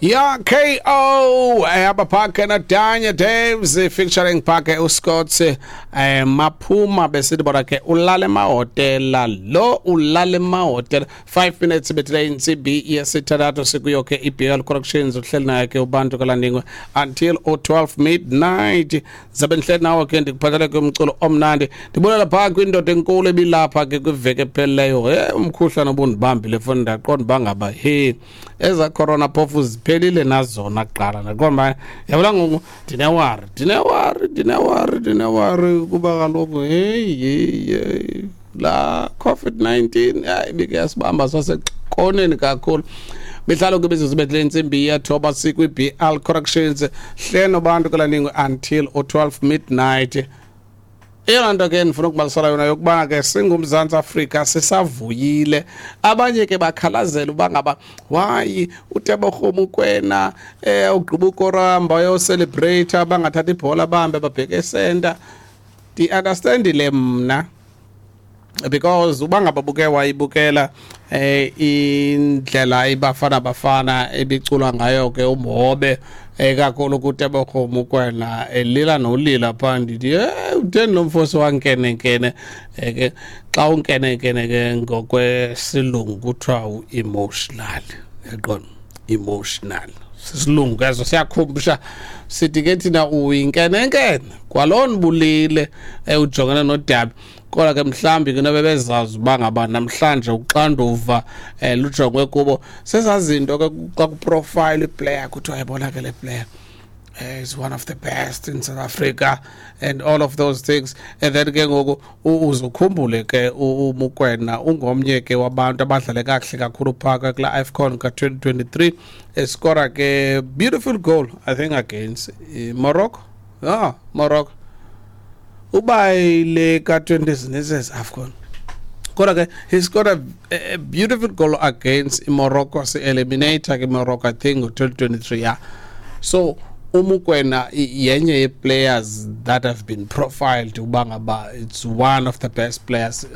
Ya KO abapha na Danya Daves featuring phake uScott Maphuma besithi bona ke ulale emahotela lo ulale emahotela. 5 minutes betile insimbi yesithathu sikuyo ke iBL Corrections uhleli naye ke uBantu kaLandingwe until 12 midnight. Zabe ndihleli nawe ke ndikuphathele ke umculo omnandi, ndibonela phaa kwindoda enkulu ebilapha ke kwiveki ephelileyo. Umkhuhlane obundibambile foni ndaqonda uba ngaba he eza corona phofu ziphelile nazona kuqala. Ndaqonda uba yabona ngoku ndinewari kuba kaloku heyi la COVID-19 hayi ibike yasibamba sasekoneni kakhulu. Mihlalo ke imizuzu ibethile intsimbi yethoba sikwi-BL Corrections hleno bantu kaLandingwe until 12 midnight. Eyona nto ke ndifuna ukubalisela yona yokubana ke singuMzantsi Afrika sisavuyile. Abanye ke bakhalazela uba ngaba why uTebogo Mokoena ugqiba ukoramba uyocelebrate bangathatha ibhola bahambe babheke esenta. Ndi-understandile mna because uba ngaba buke wayibukela indlela iBafana Bafana ebiculwa ngayo ke umhobe kakhulu kuTebogo Mokoena elila nolila phaa, ndithi utheni lo mfosi wankenenkene ke xa unkenenkene ke ngokwesilungu kuthiwa u-emotional, yaqonda emotional sisilungu ke eso siyakhumbusha sithi ke thina uyinkenenkene kwalona bulile ujongene nodabi. Kodwa ke mhlawumbi ke nobe bezazi uba ngaba namhlanje uxanduva lujongwe kubo. Sezazinto ke xa kuprofile iplayer kuthiwa yabona ke le player is one of the best in South Africa and all of those things. And then ke ngoku uzukhumbule ke uMokoena ungomnye ke wabantu abadlale kakuhle kakhulu phaa kula AFCON ka-2023 eskora ke beautiful goal I think against Morocco. Morocco uba ile ka-20 AFCON. Kodwa ke he scored a beautiful goal against Morocco, si-eliminator ke Morocco I think ngo-2023. Yeah. So uMokoena yenye ye-players that have been profiled uba ngaba it's one of the best players.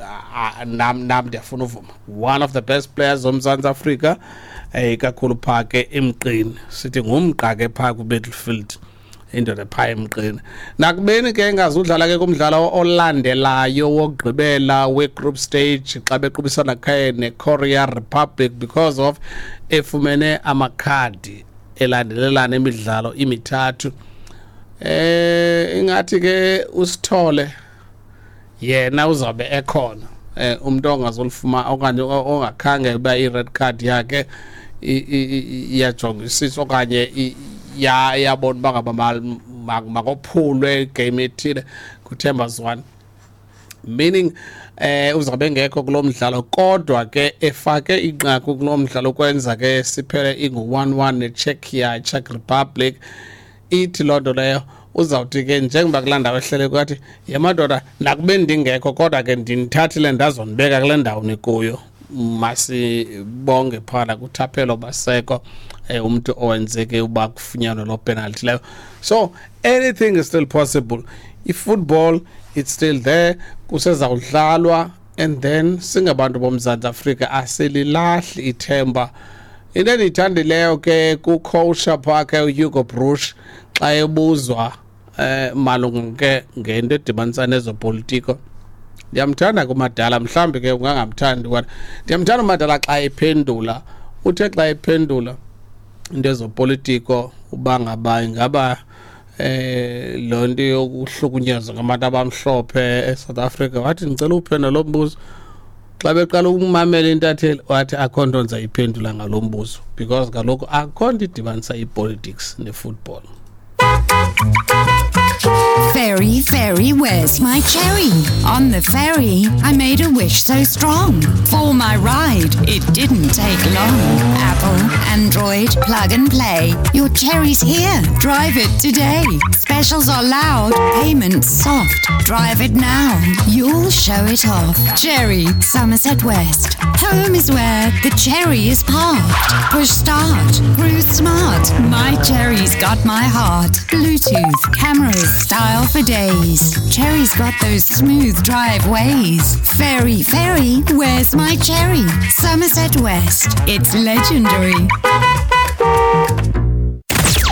Nam ndiyafuna uvuma one of the best players zoMzantsi Afrika ikakhulu phaa ke emqini, sithi ngumqa ke phaa ku-battlefield indoda phaa emqini. Nakubeni ke engazudlala ke kumdlalo olandelayo wokugqibela we-group stage xa bequbisana ke ne-Korea Republic because of efumene amakhadi elandelelana imidlalo imithathu. Ingathi ke usithole yena uzabe ekhona umuntu ongazolifuma okanye ongakhange uba i-red card yakhe iyajongisiswa okanye yabona uba ngaba makophulwe igame ethile kuThemba Zwane, meaning uzabe engekho kulo mdlalo kodwa ke efake inqaku kulo mdlalo kwenza ke siphele ingu-1-1 neCzechia, Czech Republic. Ithi loo nto leyo uzawuthi ke njengoba kulaa ndawo ehlele kwathi yemadoda nakube ndingekho kodwa ke ndinithathile ndazondibeka kule ndawo nikuyo. Masibonge phana kuThaphelo Baseko umuntu owenzeke uba kufunyanwe loo penalty leyo. So anything is still possible. I-football it's still there, kusezawudlalwa and then singabantu boMzantsi Afrika asililahli ithemba. Into endiyithandileyo ke kucoach phaa ke uHugo Broos xa ebuzwa malunga ke ngento edibanisa nezopolitiko. Ndiyamthanda kuMadala, mhlawumbi ke ungangamthandi kodwa ndiyamthanda uMadala xa ephendula. Uthe xa ephendula into ezopolitiko uba ngaba ingaba loo nto yokuhlukunyezwa ngabantu abamhlophe eSouth Africa, wathi ndicela uphendula lo mbuzo. Xa beqala ukumamela intatheli wathi akho nto ndizayiphendula ngalo mbuzo because kaloku akho nto idibanisa ipolitics nefootball. Ferry, ferry, where's my cherry? On the ferry, I made a wish so strong. For my ride, it didn't take long. Apple, Android, plug and play. Your cherry's here. Drive it today. Specials are loud, payments soft. Drive it now. You'll show it off. Cherry, Somerset West. Home is where the cherry is parked. Push start. Cruise smart. My cherry's got my heart. Bluetooth, cameras, There's style for days. Chery's got those smooth drive ways. Ferry, ferry, where's my cherry? Somerset West, it's legendary.